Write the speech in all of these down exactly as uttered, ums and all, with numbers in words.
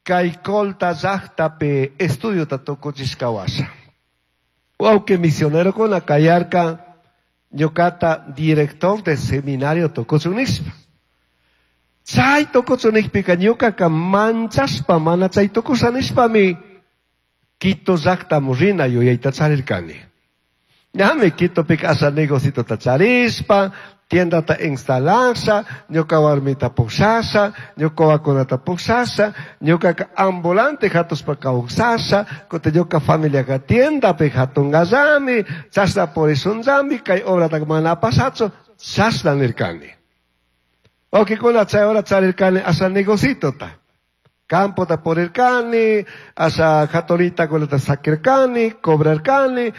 Kay Colta llaqtapi estudiota tukuchishka washa. Wawqi misionerokuna kayarka ñuqata director de seminario tukuchun nishpa. Chay tukuchun nishpika ñuqaqa manchashpa mana chay tukusha nishpami Quito llaqtaman rina yuyayta charirkani. Ñami Quitopika asha negocitota charishpa, tiendata instalasha, ñuka warmita pushasha, ñuka wawakunata pushasha, ñuqaqa ambulante hatushpa kawsasha, kutin ñuka familiaqa tiendapi hatungallami, chashna purishunllami, kay obrata mana apashachu, chashna nirkani. Wawqikuna chay hora charirkani asha negocitota. Campota purirkani, asha haturitakunata sakirkani, cobrarkani,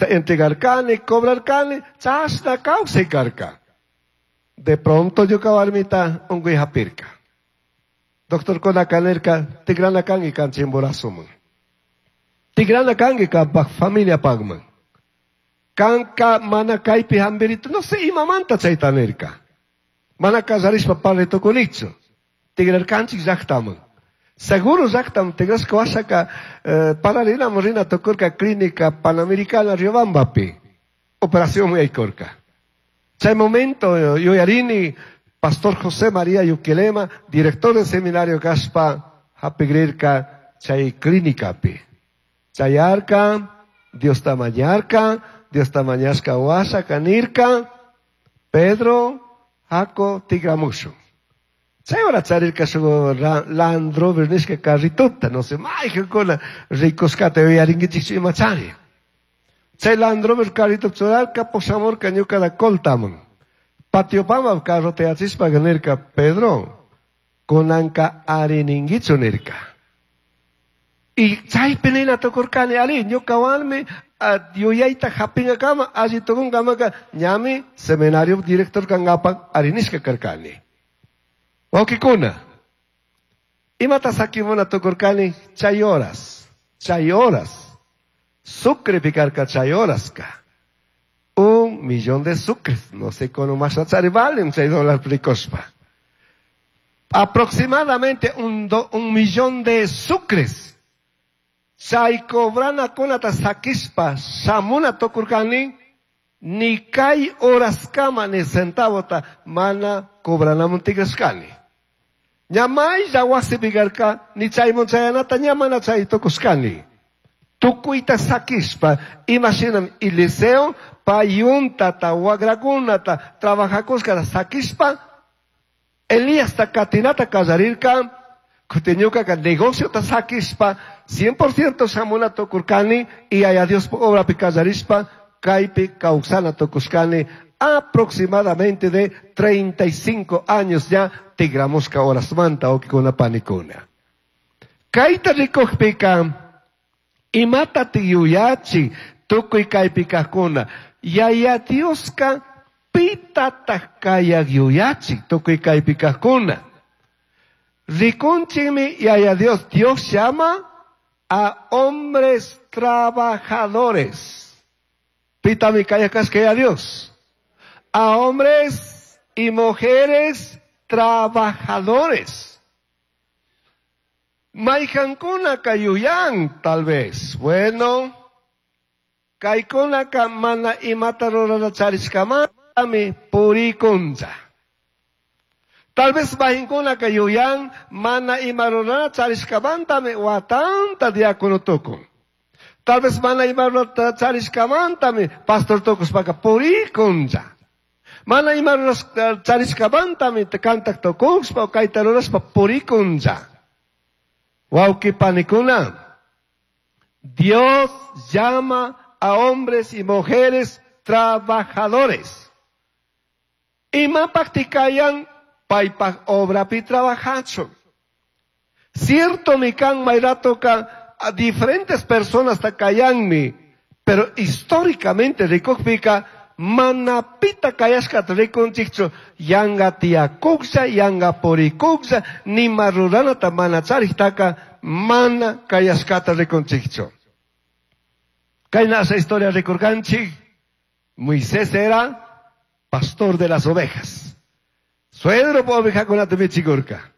entregarkani, cobrarkani, chashna kawsay karka. De pronto ñuka warmita unkuy hapirka. Doctorkunaka nirka, tigrana kanki kan Chimborazoman. Tigrana kanki kanpak familiapakman. Kanka mana kaypi hambirito, no sé imamanta chayta nirka. Mana kallarishpa parlay tukunichu. Tigrarkanchik llaqtaman. Seguro llaqtaman tigrashka washaka eh, pararinaman rina tukurka Clínica Panamericana Riobambapi. Operación yaykurka. Chay momento yuyarini Pastor José María Yuquilema, director del seminario kashpa, hapigrirka chay clínicapi. Chayarka, Diosta mañarka, Diosta mañashka washa nirka, Pedro, haku, tigramushun. Chay hora charirka shuk Land Rover nishka carritota, no sé, mayqankuna rikushkata yuyarinkichikchu imachari. Chay Land Rover carrito churarka, pushamurka ñukata Coltaman. Patiopama carro tiyachishpa nirka, Pedro, kunanka arininkichu nirka. Y chaypi nina tukurkani, ari, ñuka warmi yuyayta hapingakama, alli tukunkamaka, ñami seminario director kankapak arinishka karkani. Wawqikuna, imata sakimuna tukurkani chay horas, chay horas. Sucre karka chay horaska. Un millón de sucres, no sé cómo más chari valen chay dólar rikushpa. Aproximadamente un, do, un millón de sucres. Chay cobranakunata sakishpa shamuna tukurkani, ni kay horaskama ni centavota mana cobranamun tigrashkani. Ña maylla wasipi karka, ni chaymun chayanata ña mana chay tukushkani. Tukuyta sakishpa, imashinam Eliseo payuntata, wagrakunata, trabajakushkata sakishpa, Elíasta katinata kallarirka, kutin ñukaka negociota sakishpa, cien por ciento shamuna tukurkani, y Yaya Dios obrapi kallarishpa, kaypi kawsana tukushkani, aproximadamente de treinta y cinco años ya tigramushka horasmanta wawqikuna panikuna. Kayta rikukpika, imata tiyuyachi tukuy kaypi kajkuna, Yaya Dioska pitataj kayak yuyachi tukuy kaypi kajkuna. Rikunchikmi Yaya Dios, Dios llama a hombres trabajadores. Pitami kayak kashka Yaya Dios. A hombres y mujeres trabajadores. Mayqankuna kayuyan, tal vez. Bueno, kaykunaka mana imata rurana charishkamantami purikuncha. Tal vez mayqankuna kayuyan mana ima rurana charishkamantami watanta diácono tukun. Tal vez mana ima rurana charishkamantami pastor tukushpaka purikuncha. Mana ima rurana charishkamantami kantak tukushpa o kayta rurashpa purikuncha. Wawqi panikuna, Dios llama a hombres y mujeres trabajadores. Imapaq kayan paypaq obrapi trabajachun. Cierto mi kan mayratoka a diferentes personas takayanmi, pero históricamente rikukpika manapita kayashkata rikunchikchu, yanga tiyakuqlla, yanga purikuqlla, nima ruranata mana chariktaka mana kayashkata rikunchikchu. Kayna esa historia rikurkanchik, Moisés era pastor de las ovejas. Suegro ovejakunata michikurka.